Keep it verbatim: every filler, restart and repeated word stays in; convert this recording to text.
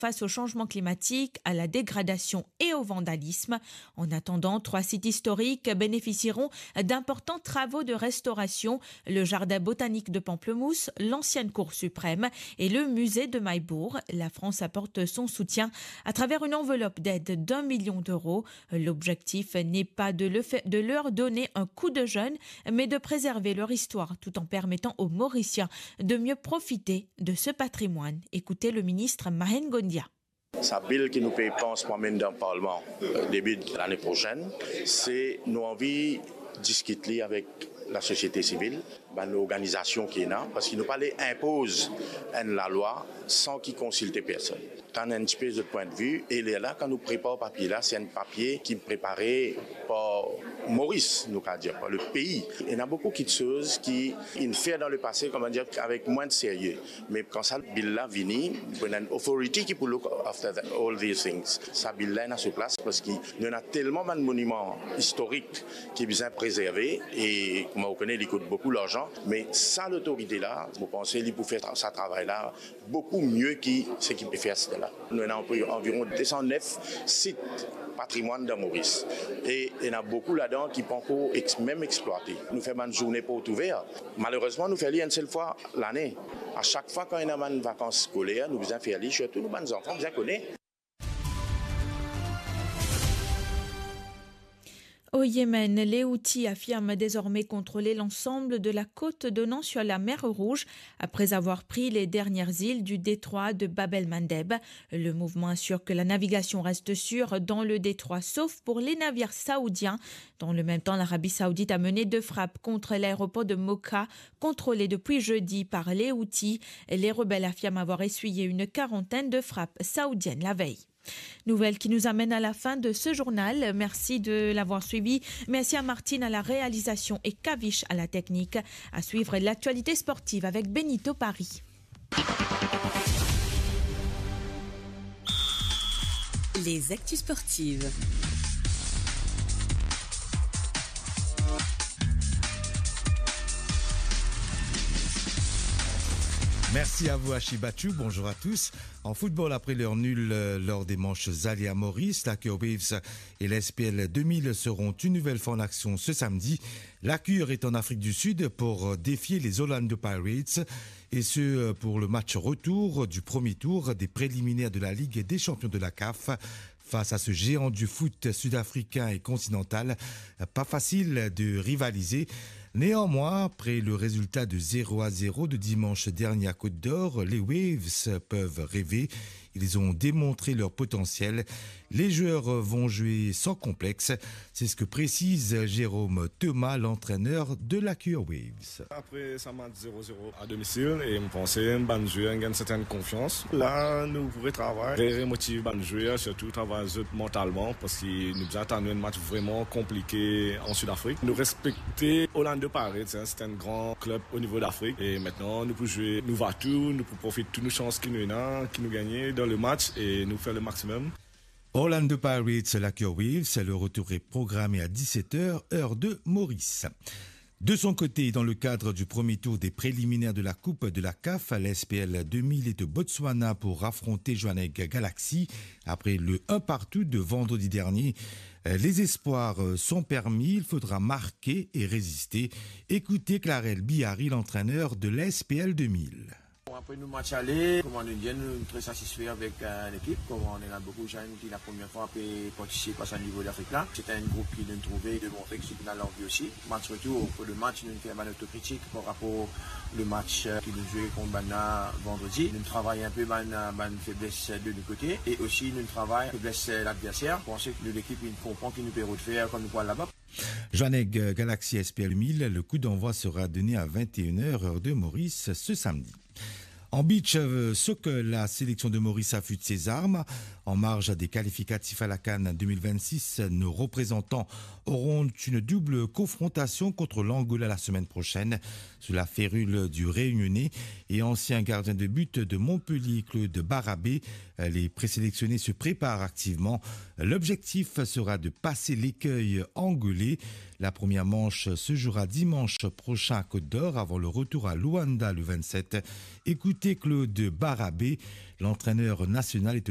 face au changement climatique, à la dégradation et au vandalisme. En attendant, trois sites historiques bénéficieront d'importants travaux de restauration, le jardin botanique de Pamplemousse, l'ancienne Cour suprême et le musée de Maillebourg. La France apporte son soutien à travers une enveloppe d'aide d'un million d'euros. L'objectif n'est pas de le fa-, de leur donner un coup de jeune, mais de préserver leur histoire tout en permettant aux Mauriciens de mieux profiter de ce patrimoine. Écoutez le ministre Mahen Gondia. Sa bil ki nou pe pans pou amenn dan Parlman, eh, debi lane prosenn, se nou anvi diskit li avek lasosiete sivil, bann organizasion ki ena, parski nou pa le inpoz enn lalwa san ki konsilte personn. Tann enn tipe zot pwin de vi, e lerla, kan nou prepar papie la, se enn papie ki prepare par Moris, nou kapav dir, par le pei. Ena boukou kiksoz ki inn fer dan lepase, kouma dir, avek mwin de serye. Me kan sa bil la vini, pou ena enn authority ki pou look after the, all these things. Sa bil la ena so plas, parski nou ena telman bann moniman istorik ki bizin prezerve, e kouma ou kone, li kout boukou larzan, me sa lotorite la, mo panse li pou fer tra-, sa travay la boukou mie ki seki pe fer aster la. Nou ena anvi-, anviron de san nef sit patrimwann dan Moris, e ena boukou ladan ki pankor ex-, mem explwate. Nou fer bann zourne port ouver. Malerezman, nou fer li enn sel fwa lane. A sak fwa kan ena bann vakans skoler, nou bizin fer li, sirtou nou bann zanfan bizin kone. Au Yémen, les Houthis affirment désormais contrôler l'ensemble de la côte donnant sur la mer Rouge après avoir pris les dernières îles du détroit de Bab el-Mandeb. Le mouvement assure que la navigation reste sûre dans le détroit, sauf pour les navires saoudiens. Dans le même temps, l'Arabie Saoudite a mené deux frappes contre l'aéroport de Moka, contrôlé depuis jeudi par les Houthis. Les rebelles affirment avoir essuyé une quarantaine de frappes saoudiennes la veille. Nouvelle qui nous amène à la fin de ce journal. Merci de l'avoir suivi. Merci à Martine à la réalisation et Kavish à la technique. À suivre l'actualité sportive avec Benito Paris. Les actus sportives. Merci à vous, Ashi Bachou. Bonjour à tous. En football, après leur nul, euh, lors des manches aller à Maurice, la Cure Waves et la S P L deux mille seront une nouvelle fois en action ce samedi. La Cure est en Afrique du Sud pour défier les Orlando Pirates, et ce, euh, pour le match retour du premier tour des préliminaires de la Ligue des champions de la caf. Face à ce géant du foot sud-africain et continental, pas facile de rivaliser. Néanmoins, après le résultat de zéro à zéro de dimanche dernier à Côte d'Or, les Waves peuvent rêver. Ils ont démontré leur potentiel. Les joueurs vont jouer sans complexe. C'est ce que précise Jérôme Thomas, l'entraîneur de la Cure Waves. Après sa match zéro zéro à domicile, e mo panse bann zwer inn gagn sertenn konfians. La, nou pou retravay, re-, remotiv bann zwer, sirtou travay zot mantalman, parski nou bizin atann enn match vreman konplike an Sud-Afrik. Nou respekte Orlando Pirates, hein, c'est un grand club au niveau d'Afrique. E aster, nou pou zwe, nou va tou, nou pou profit tou nou sans ki nou ena, ki nou gagne dan le match, e nou fer le maximum. Orlando Pirates, la Cure Waves, le retour est programmé à dix-sept heures, heure de Maurice. De son côté, dans le cadre du premier tour des préliminaires de la Coupe de la caf, la S P L deux mille est au Botswana pour affronter Jwaneng Galaxy. Après le un partout de vendredi dernier, euh, les espoirs, euh, sont permis. Il faudra marquer et résister. Écoutez Clarel Bihari, l'entraîneur de la S P L deux mille. Bon, apre nou match ale, kouma nou dir, nou tre satisfe avek, euh, lekip. Kouma nou ena boukou zenn ki la premie fwa pe partisip a sa nivo Lafrik la. Se enn group ki nou trouve demontre ki zot ena lanvi osi. Match retour, pou le match, nou fer bann otokritik par rapor le match, euh, ki nou zwe kont bann la vandredi. Nou travay inpe bann, euh, bann febles de nou kote e osi nou travay febles, euh, ladverser. Panse ki nou lekip inn konpran ki nou pe rod fer kan nou pou al laba. Jwaneng Galaxy S P L mil, le coup d'envoi sera donné à vingt et une heures, heure de Maurice, ce samedi. En beach, euh, soccer, la sélection de Maurice affûte ses armes. En marge des qualificatifs à la CAN deux mille vingt-six, nos représentants auront une double confrontation contre l'Angola la semaine prochaine. Sous la férule du Réunionnais et ancien gardien de but de Montpellier, Claude Barabé, les présélectionnés se préparent activement. L'objectif sera de passer l'écueil angolais. La première manche se jouera dimanche prochain à Côte d'Or avant le retour à Luanda le vingt-sept. Écoutez Claude Barabé, l'entraîneur national est au